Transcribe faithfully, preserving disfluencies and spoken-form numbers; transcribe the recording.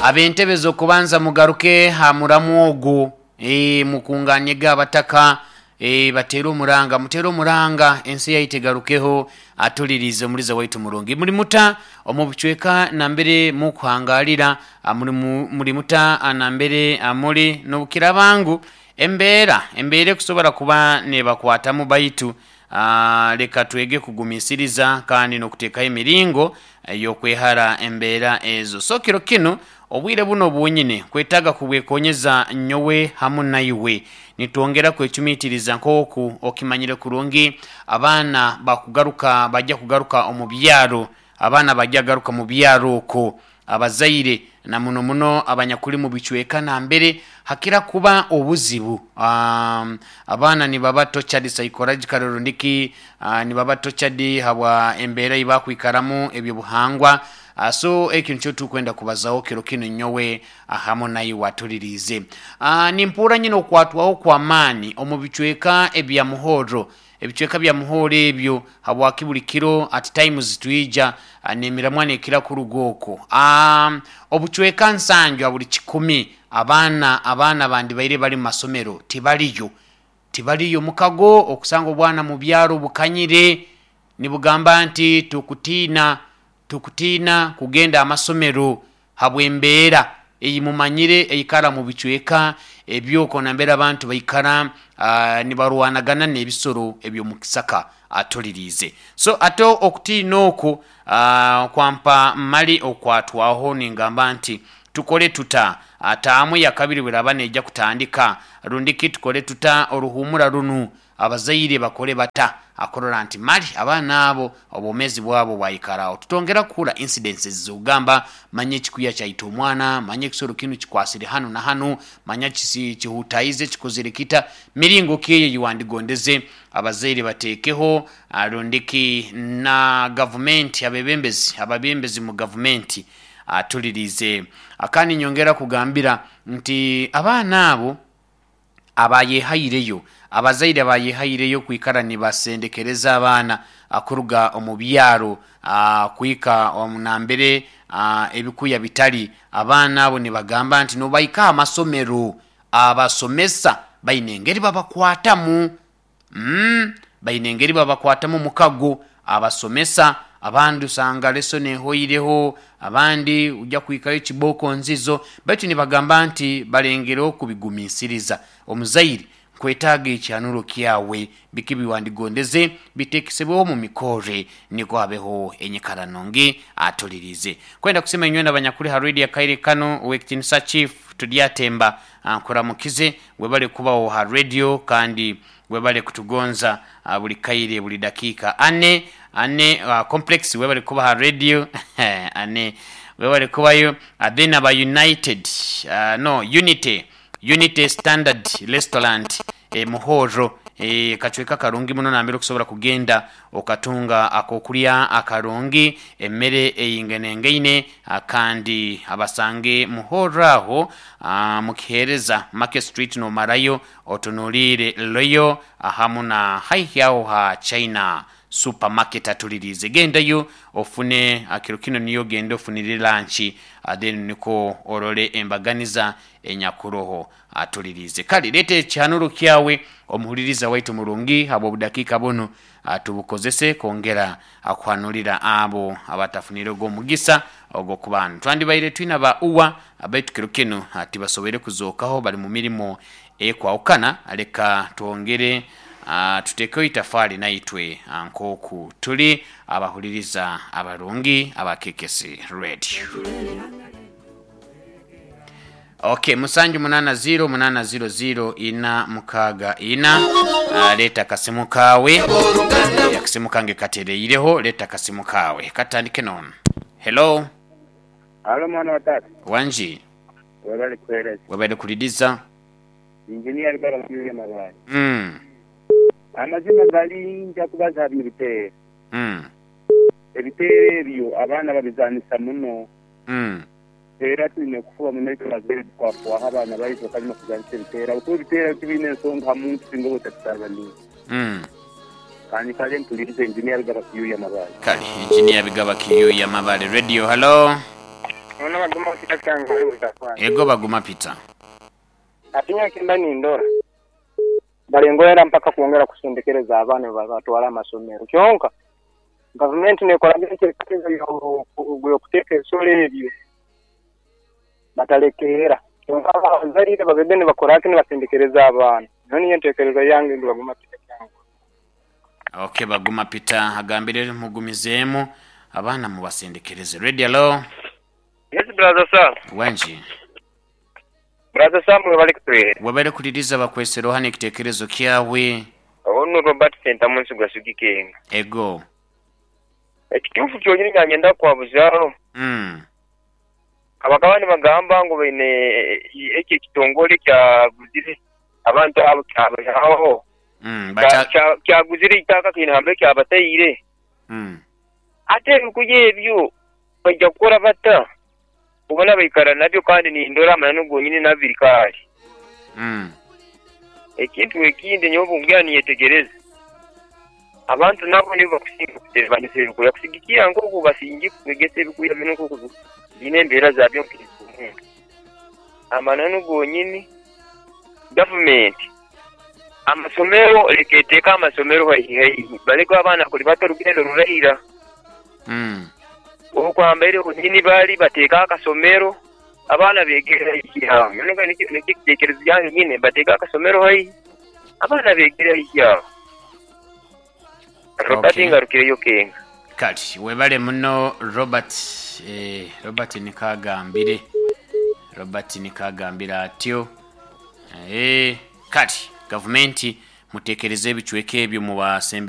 Ab'entebe z'okubanza mugaruke ha muramu ogu, e, mukunganye abataka, e, batere omuranga, mutere omuranga, ensi yaitu egarukeho. Atulirize omuliza waitu murungi, muli muta omu bucweka nambere mukuhangalira, muri, muri muta nambere muli nobukira bangu embeera embeera ekusobora kuba nebakwatamu, baitu aa, leka twege kugumisiriza kandi n'okuteekaho emiringo ey'okwehara embeera ezo. So kiro kinu, obwire buno bwonyine kwetaaga kubwekonyeza nyowe hamu naiwe, nitwongera kwecumitiriza nk'oku okimanyire kurungi abaana bakugaruka, bajja kugaruka omu byaro, abaana bajja garuka mu byaro okwo. Abazaire na muno muno abanyakuli mu bicweka nambere hakira kuba obuzibu, um, abaana nibaba tortured psychologically rundiki uh, nibaba tortured habwa embeera eibakwikaramu, ebyobuhangwa. uh, so ekyo nikyo tukwenda kubazaho kiro kinu nyowe hamu naiwe atulirize. uh, nimpura nyine okwatwaho kw'amaani omu bicweka ebya Muhoro, ebicweka bya Muhoro ebyo, habwaki buli kiro at times twija n'emiramwa nekira kuruga okwo. um, obucweka nsanju buli kikumi abaana abaana bandi baire bali mu masomero tibaliyo, tibaliyo. Mukago okusanga obwana mu byaro bukanyire nibugamba nti tukutiina, tukutiina kugenda amasomero habw'embeera eyimumanyire eikara mu bicweka ebyoko nambere abantu baikara uh, nibarwanagana n'ebisoro eby'omukisaka. Atulirize. So ate okutiina okwo uh, kwampa mali okwatwaho, ningamba nti tukole tuta ataamu ya kabiri bweraba nejja kutandika, rundiki tukole tuta oruhumura runu, abazaire bakole bata akurora nti mali abaana abo obwomezi bwabo bwaikaraho, tutongera kuhura incidences zogamba manya ekikuya kyaita omwana, manya ekisoro kinu kikwasire hanu na hanu, manya kisi kihutaize, kikozere kita. Miringo ki eyo yiwandigondeze abazaire bateekeho, rundiki na gavumenti, abebembezi ababembezi mu gavumenti? Atulirize. Kandi nyongera kugambira nti abaana abo abayehaireyo, abazaire abayehaireyo kwikara nibasendekereza abaana kuruga omu byaro kwika omunambere ebikuya bitali, abaana abo nibagamba nti nobaika amasomero abasomesa baine engeri babakwatamu, mm, baine engeri babakwatamu mukago abasomesa. Abandi usanga lesson ehoireho, abandi ujja kwikayo kiboko nzizo, baitu nibagamba nti balengereho kubigumisiriza. Omuzaire nkwetaaga ekyanuro kyawe, biki biwandigondeze bitekesebweho mu mikore niko habeho enyikara nungi? Atulirize. Kwenda kusema inywena abanyakuli ha radio akaire kano, owekitinisa chief Tudyatemba, nkuramukize, webale kubaho ha radio kandi webale kutugonza buli kaire, buli dakiika. Ane ane uh, complex, webale kuba ha radio, ane webale kubayo. Then aba United, uh, no, Unity, Unity Standard Restaurant, e, Muhoro, e, kacweka karungi muno nambere okusobora kugenda okatunga akokulya akarungi, emmere eyingenengeine, kandi abasange Muhoro aho mukihereza Market Street, nomarayo otunuliire Royal hamu na haihi aho ha China Supermarket. Atulirize, gendayo ofune akiro kino, niyo genda ofunire lunch, then niko orole embaganiza enyakuroho. Atulirize. Kale leeta ekyanuro kyawe, omuhuliriza waitu murungi, habwa obudakiika buno tubukozese kwongera akuhanulira abo abatafunire ogw'omugisa ogw'okubana. Twandibaire twina ba uwa, baitu kiro kinu tibasoboire kuzookaho, bali mu mirimo ekwahukana. Leka twongere uh, tuteekeho itafaali naitwe nk'oku tuli abahuliriza abarungi aba K K C Radio. Okay, musanju munana zero munana zero zero ina mukaaga ina. uh, leeta akasimu kawe, akasimu kange katereireho, leeta akasimu kawe katandike nono. Hello. Halo, mwana wa tata. Wanji. Webale kuhereza. Webale kulidiza. Injinia Rugaba Kiuya Mabale. mm. Amazima gali, nja kubaza ebiteere. Mm. Ebiteere ebyo abaana babizanisa muno. Mm. Era tulina kufuba muno itwe abazaire tukwafuwaho abaana baitu bakalima kuzanisa ebiteere, kuba ebiteere tibiine ensonga ha muntu singa oba otabitabaniire. Mm. Kandi kale mpulirize Injinia Rugaba Kiyuya Mabale. Kale, Injinia Bigaba Kiyuya Mabale. Radio, hello. Mwana. Baguma Peter Kyangwali Butafani. Ego Baguma Peter. Atinya kimba nindora. Balengolera mpaka kuongera kusendekereza abaana batwala amasomero. Kyonka gavumenti nekola enteekateeka y'okuteeka ebisolo ebyo batalekeera. Kyonka abazaire babebe nibakoraki nibasendekereza abaana. Niyo niyo enteekereza yange ndi Baguma Peter Kyangwali. Okay, Baguma Peter agambire mugumizeemu abaana mubasendekereze. Radio, hello. Yes, brother Sam. Wanji. Brother Sam webali kutwere. Webale kuliriza bakwesero hano ekitekerezo kyawe. Ono Robert Sentamu nsigwa sugikenga. Ego. Ekituufu kyonyini nyangenda kwabuzaho. Mm. Abakaba nibagamba ngu baine ekyo ekitongole kyaguzire abantu abo kyabaho. Mm, bacha kyaguzire itaka kiine kyabataire. Mm. Ate ebikuya ebyo bajja kukora bata ubona baikara nabyo kandi nindora amananu gonyini nabiri kali. Mm. Ekintu ekindi nyobu ngira niyetegereza abantu nabo nibo bakusinga kutebanisa ebikuya kusigikia nk'oku basingi kwegesa ebikuya bino nk'oku bine embeera zabyo nk'omuntu amananu gonyini gavumenti amasomero leka eteeka amasomero haihi haihi baleke abaana kuli bato orugendo rurahira. Mm. Okwambaire nyini bali bateeka akasomero abaana begera haihi aho nyowe nikitekerezo yange nyine bateeka akasomero haihi abaana begera haihi aho. Robert Okay. ngarukireyo kenga. Kati webale muno Robert. eh, Robert nikagambire Robert nikagambire atyo. Eh, kati gavumenti mutekereze ebicweka ebyo mubasembe.